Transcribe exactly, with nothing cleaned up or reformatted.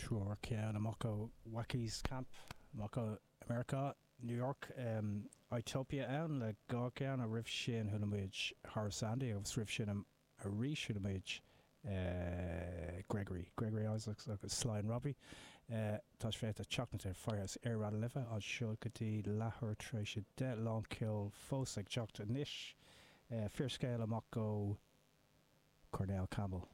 Triúr ceann amach ó Wackies Camp amach ó America New York um, Itopia ann le dhá cheann a roimh sin chuala muid Horace Andy agus roimh sin arís chuala muid uh, Gregory Gregory Isaacs agus Sly and Robbie. Uh, tá féta teachna ar Firehouse ar Raidió na Life anseo go dtí leathuair tar éis a deich lán ceol fós ag teacht anois. Uh, Fíorscéal amach ó Cornell Campbell.